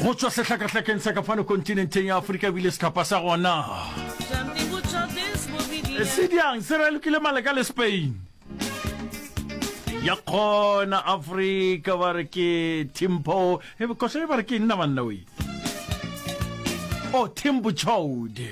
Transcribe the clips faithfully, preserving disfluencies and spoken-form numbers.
Go tšwa sehlakahlakeng sa ka fano kontinenteng ya Afrika ebile sehlopha sa gona se diang se ralokile maleka le Spain. Ya kgona Afrika ba re ke Timpo, koša e ba re ke nna banna we. O Timbo Chode.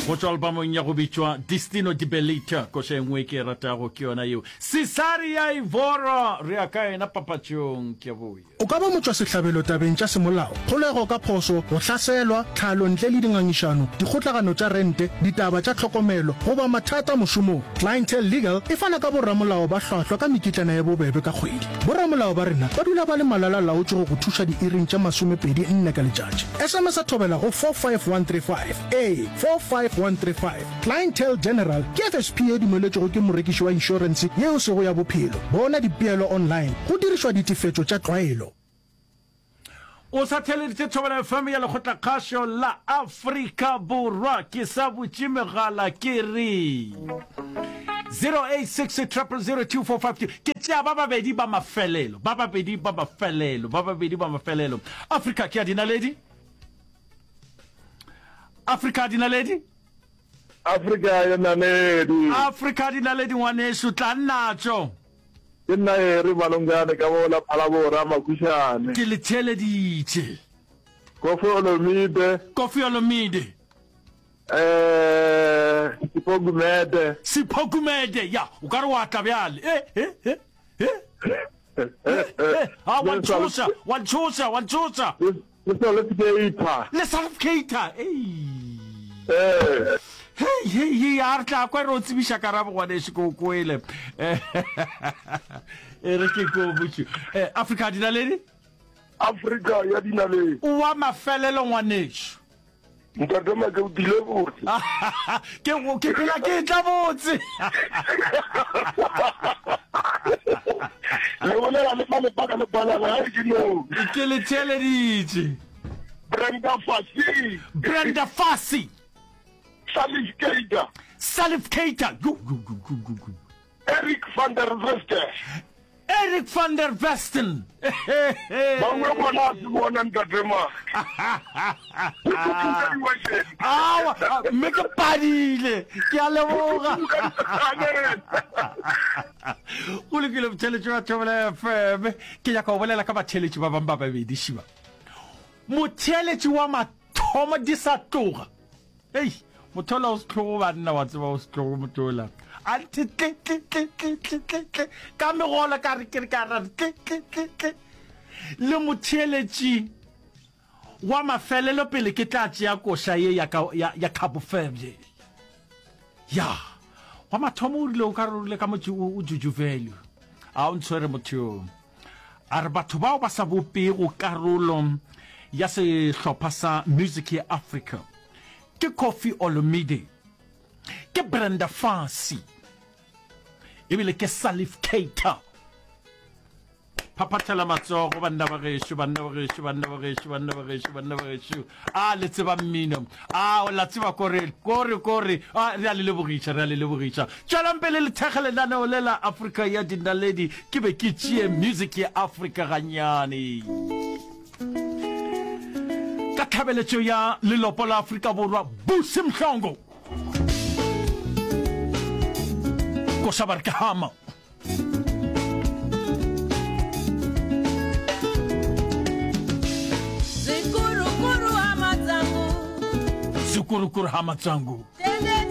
Go tšwa albumong ya go bitšwa Destino di Belita, koša e nngwe ke e ratago ke yona yeo. Cesaria Evora, re ya ka yena papatšong, ke a boya. O ka ba motšwasehlabelo tabeng tša semolao, kgolego ka phošo, go hlaselwa, tlhalo ntle le dingangišano, dikgotlagano tša rente, ditaba tša tlhokomelo, goba mathata mošomong. Clientele Legal e fana ka boramolao ba hlwahlwa ka mekitlana ye bobebe ka kgwedi. Boramolao ba rena ba dula ba le malala-laotšwe go go thuša diiring tše masomepedi nne ka letšatši. S M S Thobela go four five one three five. Ee, four five one three five. Clientele General ke F S P ye dumeletšwego ke morekiši wa inšorense ye e sego ya bophelo. Bona dipeelo online go dirišwa ditefetšo tša tlwaelo. O sa theeleditše Thobela F M ya Lekgotlakgašo la Afrika Borwa. Ke sa butše megala ke re zero eight six zero zero zero two four five two. Ke tšea ba babedi ba mafelelo, ba babedi ba mafelelo, ba babedi ba mafelelo. Afrika ke ya dinaledi. Afrika dinaledi. Afrika ya naledi. Afrika dinaledi, ngwanešu, tla natšo. Ke nna Ere Malongane ka bola Phalabora Makušane. Ke le theeleditše. Koffi Olomide. Koffi Olomide. Eh, Sipho Gumede. Sipho Gumede, ya, o ka re wa tla bjale. Eh, eh, eh, eh. Eh, eh, ah, wa ntšhoša, wa ntšhoša, wa ntšhoša. Le Salif Keita. Le Salif Keita, ei. Eh. Hei, hei, hei, a re tla kwa re o tsebiša karabo, ngwanešu, ke o kwele. E re ke ko botše. Eh, Afrika dinaledi? Afrika ya dinaledi. O wa mafelelo, ngwanešu. Ntate Make, o tlile botse. Ke go ke phela ke tla botse. Le bolela le malepa ka lepalala ga ke no. Ke le theeleditše. Brenda Fassie. Brenda Fassie. Salif Keita. Salif Keita. Yo, yo, yo, yo, yo, yo. Eric van der Western. Eric van der Western. Bangwe bona a se bona ntate Make. Awa, mme ke padile. Ke a leboga. Go lokile, motheletši wa Thobela F M. Ke nyaka go bolela ka batheletši ba bangwe ba babedi šiba. Motheletši wa mathomo di sa tloga. Ei, motho ola o setlogo banna, wa tseba o setlogo motho ola. A nthe tle tle tle tle tle tle tle ka megolo ka re ke re ka ra tle tle tle tle. Le motheeletši wa mafelelo pele ke tla tšea koša ye ya ka ya ya Cabo Verde. Ya, wa mathomo o rile o ka re o rile ka motho o Juju Value. A o ntshwere motho yo. A re batho bao ba sa bopego karolo ya sehlopha sa Music ya Africa ke Koffi Olomide, ke Brenda Fassie ebile ke Salif Keita. Phaphathela matsogo banna ba gešo, banna ba gešo, banna ba gešo, banna ba gešo, banna ba gešo. A le tseba mmino. A o la tseba kore, kore, kore. A re a le lebogiša, re a le lebogiša. Tšwelang pele le thekge lenaneo le la Afrika ya Dinaledi. Ke be ke tšee music ya Afrika gannyane. Ka tlhabeletšo ya lelopo la Afrika Borwa, Busi Mhlongo. Koša ba re ke hama. Zvikurukuru hama dzangu. Zvikurukuru hama dzangu.